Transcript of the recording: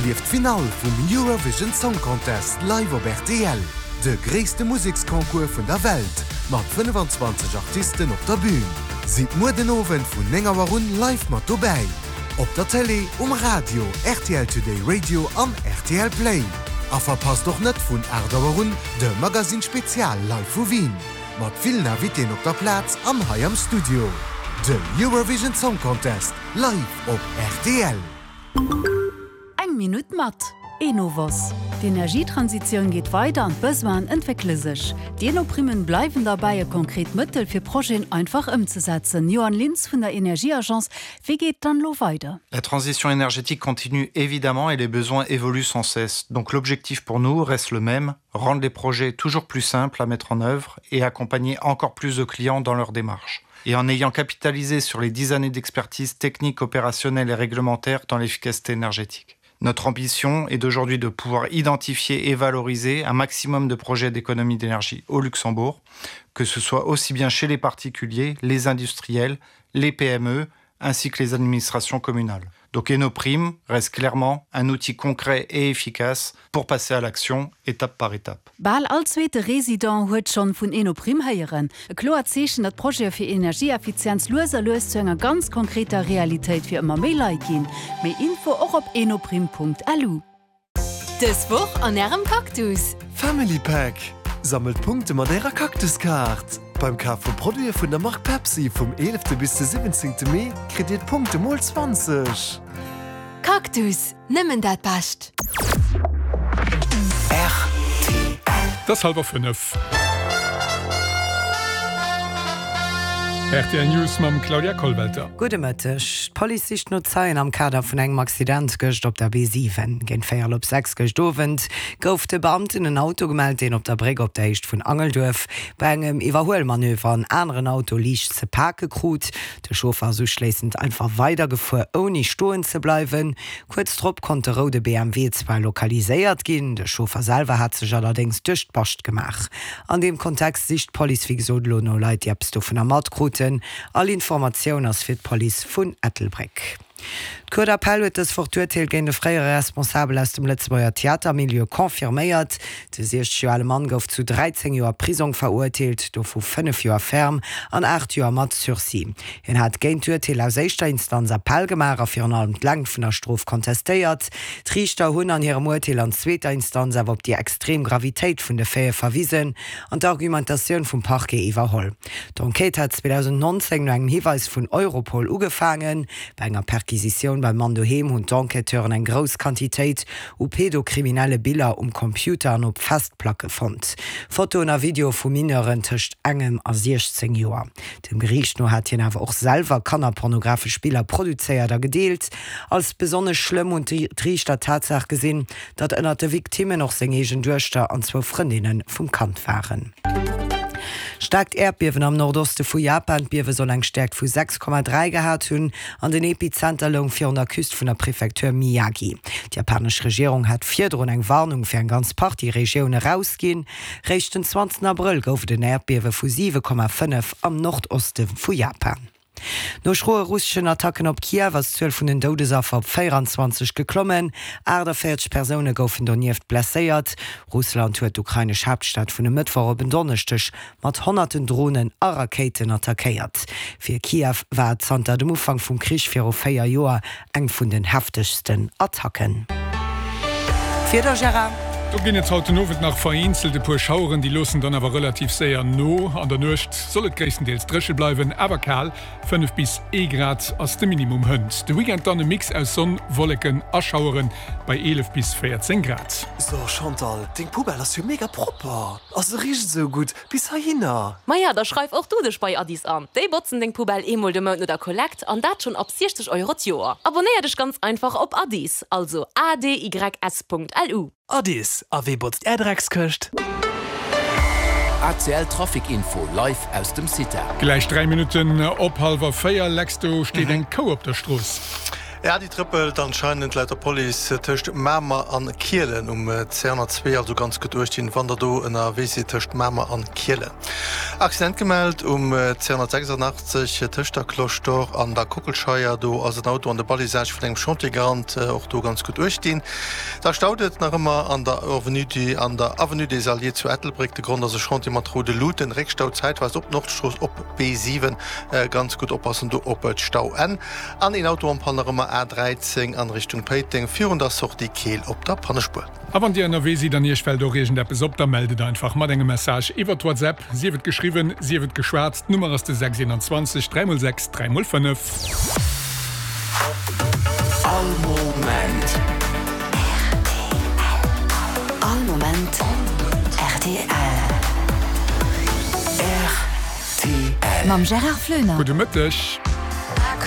Erlieft d'Finall vum Eurovision Song Contest live op rtl, de gréisste Museksconcours vun der Welt mat 25 Artisten op der Bün. Sidd muer den Owend vun 9 Auer un live mat dobäi, op der Télé, um Radio, rtl Today Radio an rtl Play. A verpasst och net vun 8 Auer un de Magazine Spezial live vu Wien, mat villen Invitéen op der Plaz an hei am Studio. De Eurovision Song Contest live op rtl. Eng Minutt mat Enovos. D'Energietransitioun geet weider an d'Besoinen entwéckele sech. D'Eno-Primmen bleiwen derbäi e konkret Mëttel fir Projeten einfach ëmzesetzen. Johan Lintz vun der Energieagence, wéi geet et dann elo weider? La transition énergétique continue évidemment et les besoins évoluent sans cesse. Donc l'objectif pour nous reste le même, rendre les projets toujours plus simples à mettre en œuvre et accompagner encore plus de clients dans leur démarche. Et en ayant capitalisé sur les 10 années d'expertise technique, opérationnelle et réglementaire dans l'efficacité énergétique. Notre ambition est d'aujourd'hui de pouvoir identifier et valoriser un maximum de projets d'économie d'énergie au Luxembourg, que ce soit aussi bien chez les particuliers, les industriels, les PME ainsi que les administrations communales. Donc Enoprime reste clairement un outil concret et efficace pour passer à l'action étape par étape. Bal all zweete Resident huet schonn vun Enoprime héieren. E kloert Zeechen, datt Projete fir Energieeffizienz lues a lues zu enger ganz konkreter Realitéit fir ëmmer méi Leit ginn. Méi Info och op enoprime.lu. Dës Woch an Ärem Cactus! Family Pack, Sammelt Punkte mat Ärer Cactus-Kaart! Beim Kaf vu Produite vun der Mark Pepsi vum 11 bis de 17 Mee kritt Dir d'Punkte mol 20! Cactus, nëmmen dat Bescht! Et ass hallwer 5. Rtl News mam Claudia Kollwelter. Gudde Mëtteg. D'Police sicht no Zeien am Kader vun engem Accident gëscht op der B7. Géint véierel op 6 gëscht Owend gouf de Beamten en Auto gemellt, deen op der Bréck op der Héicht vun Angelduerf bei engem Iwwerhuelmanöver en aneren Auto liicht ze pake krut. De Chauffer ass uschléissend einfach weidergefuer, ouni stoen ze bleiwen. Kuerz drop konnt de roude BMW zwar lokaliséiert ginn, de Chauffer selwer hat sech allerdéngs duerch d'Bascht gemaach. An deem Kontext sicht d'Police wéi gesot elo no Leit, déi eppes dovunner matkruten. All Informatioun ass fir d'Police vun Ettelbréck. D'Cour d'appel huet dës Woch d'Urteel géint e fréiere Responsabel aus dem Lëtzebuerger Theatermilieu confirméiert. De 60 Joer ale Mann gouf zu 13 Joer Prisong verurteelt, dovu 5 Joer ferme an 8 Joer mat Sursis. Hien hat géint d'Urteel aus éischter Instanz Appell gemaach a virun allem d'Längt vun der Strof kontestéiert. D'Riichter hunn an hirem Urteel an zweeter Instanz awer op déi extrem Gravitéit vun de Faite verwisen an d'Argumentatioun vum Parquet iwwerholl. D'Enquête hat 2019 no engem Hiweis vun Europol ugefaangen. Bei enger Perquisitioun beim Mann doheem hunn d'Enquêteuren eng grouss Quantitéit u pedokriminelle Biller um Computer an op Festplacke fonnt. Fotoen a Videoe vu Mineuren tëscht engem a 16 Joer. Dem Geriicht no hat hien awer och selwer kannerpornografesch Biller produzéiert a gedeelt. Als besonnesch schlëmm hunn d'Riichter d'Tatsaach gesinn, datt ënnert de Victimmen och seng eegen Duechter an zwou Frëndinne vum Kand waren. Staarkt Äerdbiewen am Nordoste vu Japan. D'Biewe soll eng Stäerkt vu 6,3 gehat hunn an den Epizenter loung virun der Küst vun der Prefektur Miyagi. D'japanesch Regierung hat virdrun eng Warnung fir eng ganz Partie Regioune rausginn. Réischt den 20 Abrëll gouf et en Äerdbiewe vu 7,5 am Nordoste vu Japan. No schroe russeschen Attacken op Kiew ass d'Zuel vun den Doudesaffer op 24 geklommen. 48 Persoune goufen donieft blesséiert. Russland huet d'ukrainesch Haaptstad vun e Mëttwoch op en Donneschdeg mat honnerten Dronen a Rakéiten attackéiert. Fir Kiew war et zanter dem Ufank vum Krich viru 4 Joer eng vun den heftegsten Attacken. D'Wieder, Gérard? Do ginn et haut den Owend nach vereenzelt e puer Schaueren, déi loossen dann awer relativ séier no. An der Nuecht soll et gréisstendeels dréche bleiwen, awer kal, 5 bis ee Grad ass de Minimum hënt. De Weekend dann e Mix aus Sonn, Wolleken a Schaueren bei 11 bis 14 Grad. So Chantal, deng Poubelle ass jo mega propper a se richt esou gutt bis heihinner. Maja, da schreif och du dech bei Addis an. Déi botzen deng Poubelle eemol de Mount no der Kollekt an dat schonn ab 60 Euro d'Joer. Abonnéier dech ganz einfach op Addis, also adys.lu. Addis, a wee botzt är Dreckskëscht? ACL Trafic Info live aus dem CITA. Gläich 3 Minutten op hallwer 4, Lex, do steet eng Kou op der Strooss. E Audi trëppelt anscheinend laut der Police tëscht Mamer an Kielen um C102, also ganz gutt uecht ginn wann der do ënnerwee sidd tëscht Mamer an Kielen. Accident gemellt um C186 tëscht der Cloche d'Or an der Kockelscheier, do ass en Auto an de Balisage vun engem Chantier gerannt, och do ganz gutt uecht ginn. Da staut et nach ëmmer an der Avenue du an der Avenue des Alliés zu Ettelbréck, de Grond ass e Chantier mat roude Luuten, Réckstau zäitweis op Nordstrooss op B7, ganz gutt oppassen do op d'Stauenn. An een Auto en panne nach ëmmer A 13 an Richtung Péiteng virun der Sortie Keel op der Pannespuer. A wann Dir ënnerwee sidd an Iech fält och iergendeppes op, da mellt et einfach mat engem Message iwwert WhatsApp, sief et geschriwwen, sief et geschwat. D'Nummer ass de 6 21 3 x 6 3 x 5. All Moment rtl. All Moment rtl. Rtl. Mam Gérard Floener. Gudde Mëtteg.